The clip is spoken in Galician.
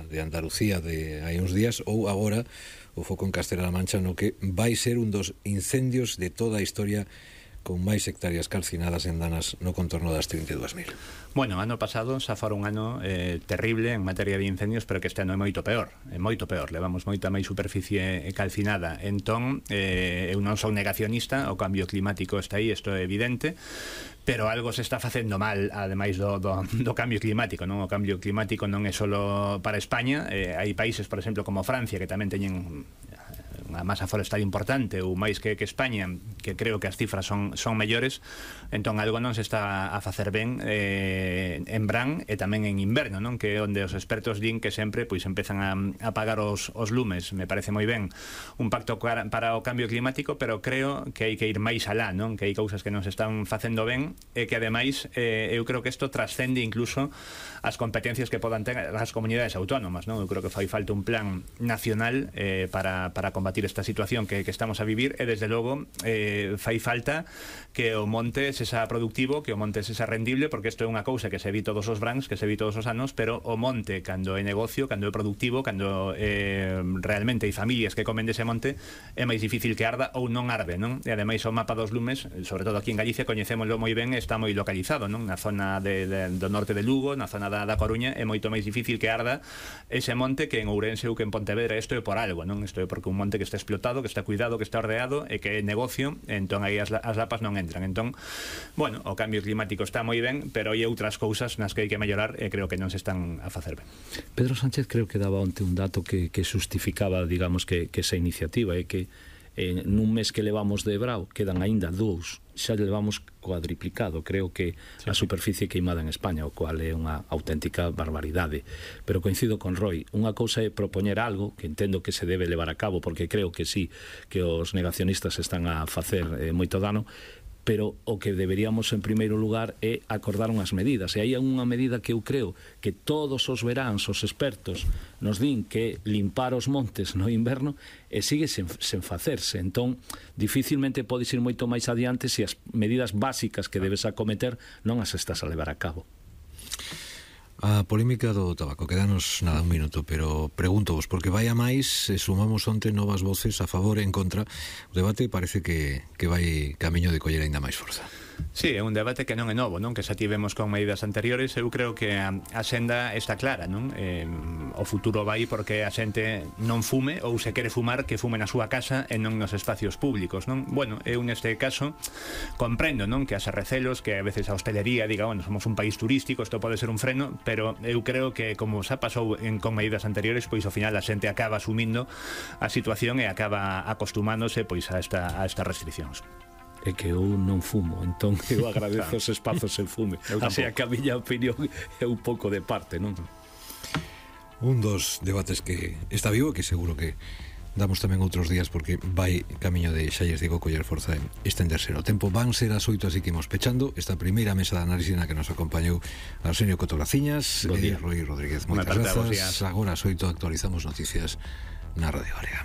de Andalucía de hai uns días, ou agora o foco en Castela-La Mancha, no que vai ser un dos incendios de toda a historia con máis hectáreas calcinadas en danas no contorno das 32.000. Bueno, ano pasado xa fora un ano terrible en materia de incendios, pero que este ano é moito peor, levamos moita máis superficie calcinada. Entón, eu non son negacionista, o cambio climático está aí, isto é evidente, pero algo se está facendo mal, ademais do cambio climático, non? O cambio climático non é solo para España, hai países, por exemplo, como Francia, que tamén teñen unha masa forestal importante, ou máis que España, que creo que as cifras son mellores. Entón algo non se está a facer ben en verán e tamén en inverno, non? Que é onde os expertos din que sempre pois empezan a apagar os lumes. Me parece moi ben un pacto para o cambio climático, pero creo que hai que ir máis alá, non? Que hai cousas que non se están facendo ben e que ademais eu creo que isto trascende incluso as competencias que podan ter as comunidades autónomas, non? Eu creo que fai falta un plan nacional para combatir esta situación que estamos a vivir, e desde logo fai falta que o monte sexa productivo, que o monte sexa rendible, porque isto é unha cousa que se vi todos os brans, que se vi todos os anos, pero o monte, cando é negocio, cando é productivo, cando realmente hai familias que comen dese monte, é máis difícil que arda ou non arde, non? E ademais o mapa dos lumes, sobre todo aquí en Galicia, coñecémoslo moi ben, está moi localizado, non? Na zona do norte de Lugo, na zona da Coruña, é moito máis difícil que arda ese monte que en Ourense ou que en Pontevedra. Isto é por algo, non? Isto é porque un monte que está explotado, que está cuidado, que está ordeado e que é negocio, entón aí as lapas non entran. Entón, bueno, o cambio climático está moi ben, pero hai outras cousas nas que hai que mellorar e creo que non se están a facer ben. Pedro Sánchez creo que daba onte un dato que xustificaba, digamos, que esa iniciativa é que nun mes que levamos de brao quedan aínda 2, xa levamos cuadriplicado, creo que a superficie queimada en España, o cual é unha auténtica barbaridade. Pero coincido con Roy, unha cousa é propoñer algo que entendo que se debe levar a cabo, porque creo que sí, que os negacionistas están a facer moito dano, pero o que deberíamos en primeiro lugar é acordar unhas medidas, e hai unha medida que eu creo que todos os veráns os expertos nos din que limpar os montes no inverno e sigue sen facerse. Entón dificilmente podes ir moito máis adiante se as medidas básicas que debes acometer non as estás a levar a cabo. A polémica do tabaco, quedanos nada un minuto, pero pregúntovos, porque vai a máis, sumamos onte novas voces a favor e en contra, o debate parece que vai camiño de coller aínda máis forza. Sí, é un debate que non é novo, non? Que xa tivemos con medidas anteriores. Eu creo que a senda está clara, non? O futuro vai porque a xente non fume, ou se quere fumar, que fume na súa casa e non nos espacios públicos, non? Bueno, eu neste caso comprendo, non? Que as recelos, que a veces a hostelería diga, bueno, somos un país turístico, isto pode ser un freno, pero eu creo que como xa pasou con medidas anteriores, pois ao final a xente acaba asumindo a situación e acaba acostumándose pois a estas restriccións. É que eu non fumo, entón eu agradezo os espazos en fume. Así que a miña opinión é un pouco de parte, non? Un dos debates que está vivo, que seguro que damos tamén outros días, porque vai camiño de, xa lles digo, coller forza en estenderse no tempo. Van ser as 8, así que imos pechando esta primeira mesa de análisis na que nos acompañou Arsenio Cotograciñas e Roy Rodríguez. Moitas grazas. Agora as 8 actualizamos noticias na Radio Área.